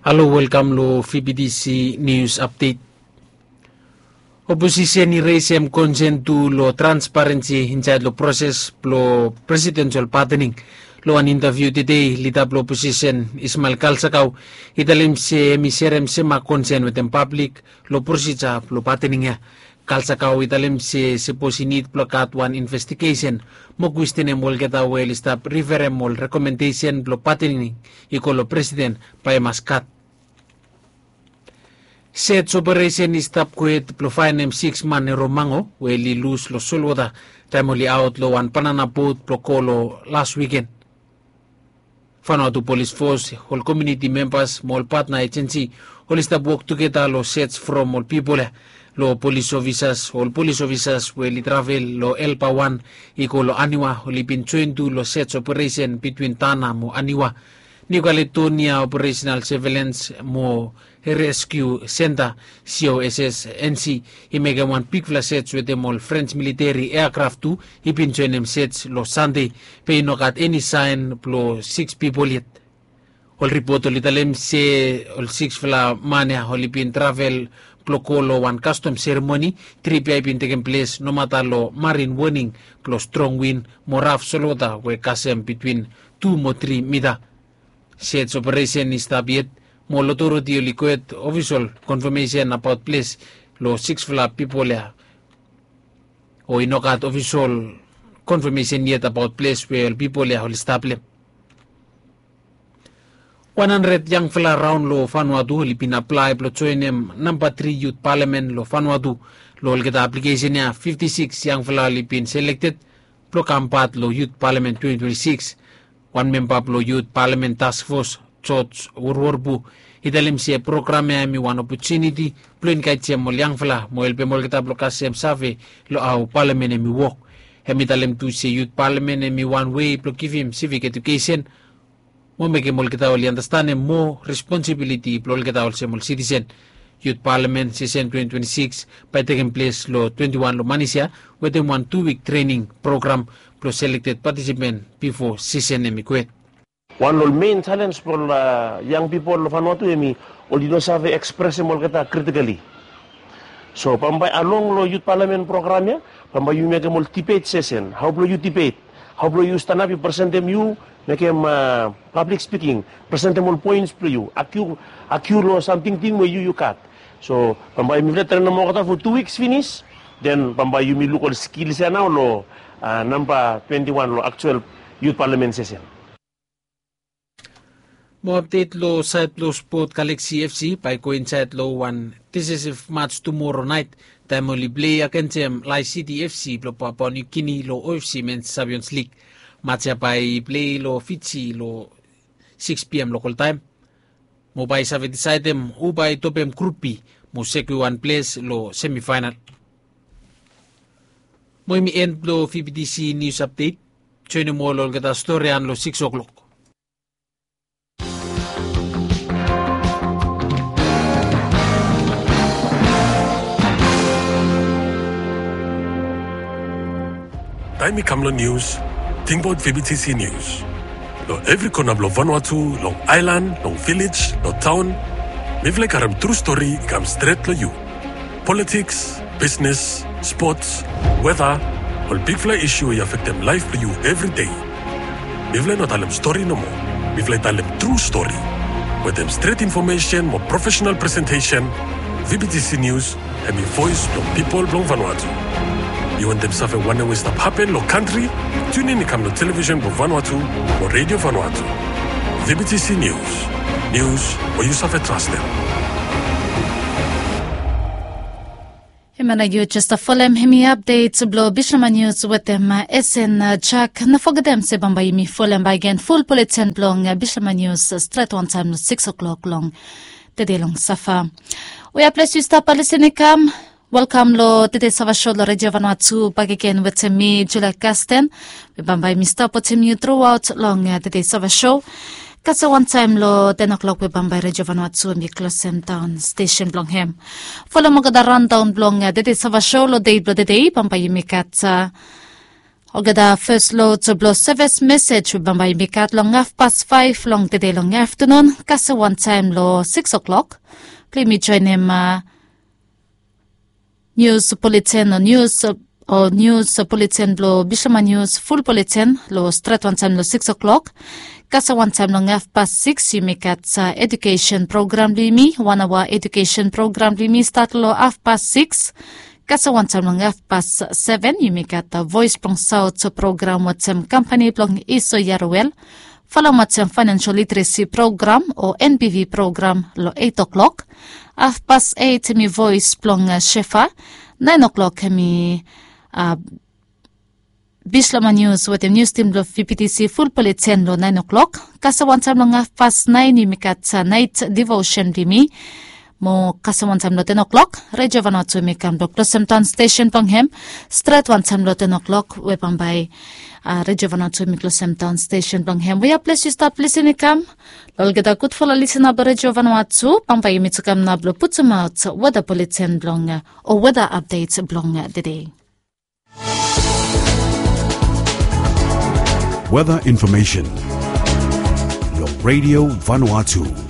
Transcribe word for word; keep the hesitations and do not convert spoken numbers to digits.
Alo, welkam lo V B T C News Update. Oposisen i resem konsen tu lo transparensi insaed lo proses blo presidensel patening. Lo wan intaviu tede, lida blo oposisen Ismael Kalsakau i talem se hem i serem sema konsen wetem pablik lo prosija blo patening ya. Kalsakau i talem se sapos i nid blo gat wan investigesen mo kwestenem olgeta we oli stap riferem ol rekomendesen blo patening i go lo presiden, bae i mas gat. Search operation i stap kwet blo faenem siks man e Romango we oli lus lo solwota taem oli aot lo wan banana bot blo go lo las wiken. Vanuatu Polis Fos, ol komuniti membas mo ol patna ejensi oli stap wok tugeta lo search from ol pipol ya. Lo polis ofisas, ol polis ofisas we oli travel lo Elba wan i go lo Aniwa oli bin joen tu lo search operation bitwin Tana mo Aniwa. New Caledonia Operational Surveillance mo Rescue Center, C O S S N C, i mekem wan bigfala search wetem ol French militeri aircraft tu i bin joenem search lo Sande, be i no gat eni saen blo siks pipol yet. Ol ripot oli talem se ol siksfala man ya oli bin travel blo go lo wan kastom seremoni, trip ya i bin tekem ples nomata lo marin woning blo strong win mo raf solwota we kasem bitwin tu mo tri mita. Search operation i stap yet mo ol otoriti oli kwet ofisol konfamesen abaot ples lo siksfala pipol ya. O i no gat ofisol konfamesen yet abaot ples we ol pipol ya oli stap lo hem. Wan handred yangfala raon lo Vanuatu oli bin aplae blo joenem namba tri yut palamen lo Vanuatu. Lo olgeta aplikesen ya, fifti siks yangfala oli bin selekted blo kam pat lo yut palamen twenti twenti siks. Wan memba blo yut palamen task fos, George Worworpu, i talem se program ya hem i wan opotuniti blo enkaejem ol yangfala mo helpem olgeta blo kasem save lo hao palamen hem i wok. Hem i talem tu se yut palamen hem i wan wei blo givim sivik edukesen mo mekem olgeta oli andastanem moa responsibiliti blo olgeta olsem ol sitisen. Yut palamen sesen twenti twenti siks bae tekem ples lo twenti wan lo manis ya wetem wan tu wik trening program blo selekted patisipen bifo sesen hem i kwet. Wan lo ol mein jalenj blo ol yang pipol lo Vanuatu hem i oli no save ekspresem olgeta kritikali. So bambae along lo yut palamen program ya, bambae yumi mekem ol dibet sesen, hao blo yu dibet, hao blo yu stanap yu presentem yu mekem pablik spiking, presentem ol poens blo yu, agiu agiu lo sam tingting we yu yu gat. So bambae mifala trenem olgeta fo tu wiks finis, den bambae yumi luk ol skils ya nao lo namba twenti wan lo aktual yut palamen sesen. Mo apdet lo saed blo spot, Galaxy F C bae i go insaed lo wan disesif mats tumoro naet taem oli plei agensem Lae City F C blo Papua New Guinea lo O F C Men's Champions League. Mats ya bae i plei lo Fiji lo siks P M lokol taem mo bae i save disaedem hu bae i topem grup B mo sekiua wan ples lo semifaenal. Mo hemi en blo V B T C Nius Apdet. Joenem ol olgeta stori ia lo siks oklok. Taem i kam long nius, tingbaot V B T C Nius. Long evri kona blong Vanuatu, long aelan, long vilej, long taon, mifala i karem tru stori i kam stret long yu. Politiks, bisnes, spots, weta, ol bigfala isu we i afektem laef blong yu evri dei. Mifala i no talem stori nomo. Mifala i talem tru stori. Wetem stret infomesen mo profesenal presentesen, V B T C Nius hemi voes blong pipol blong Vanuatu. Yu wantem save wanem we i stap hapen long kantri? Tiunin i kam long televisen blong Vanuatu o Redio Vanuatu. V B T C Nius. Nius we yu save trastem. Hemia nao yu jes stap folem hemi apdet blong Bishlama Nius wetem Esen Jak. No fogetem se bambae yumi folem bakegen ful buleten blong Bishlama Nius stret wantaem long siks oklok long tede long safa. Wea ples yu stap lisin i kam, welkam long tede sava sho long Redio Vanuatu bakegen wetem mi, Julia Kasten. Mi bambae mi stap wetem yu truaot long tede sava sho. Kasem wantaem long ten oklok we bambae Redio Vanuatu hemi klosem daon stesen blong hem. Folem olgeta raondaon blong tede sava sho long deit blong tede, bambae yumi gat Olgeta fes lod blong seves mesej we bambae yumi gat long hafpas faef long tede long aftanun, kasem wantaem long sikis oklok blong yumi joenem nius buleten o nius o nius buleten blong Bislama Nius ful buleten long stret wantaem long sikis oklok. Kasem wantaem long hafpas sikis yumi gat edukesen program blong yumi, wan aoa edukesen program blong yumi stat long hafpas sikis. Kasem wantaem long hafpas seven yumi gat Voes blong Saot program wetem kampani blong Iso Yaruel. Folem wetem Faenensel Literesi program o NBV program long eit oklok. Hafpas eit hemi Voes blong Shefa. Naen oklok hemi Bislama Nius wetem nius tim blong VPTC ful buleten long naen oklok. Kasem wantaem long hafpas naen yumi gat naet divosen blong yumi. Mo kasem wantaem long ten oklok Redio Vanuatu hemi kam blong klosem daon stesen blong hem. Stret wantaem long ten oklok we bambae Redio Vanuatu hemi klosem daon stesen blong hem. We ya ples yu stap lisin i kam long olgeta gudfala lisina blong Redio Vanuatu, bambae yumi tu kam nao blong putumaot weta buleten blong o weta apdet blong tede. Weather information. Your Radio Vanuatu.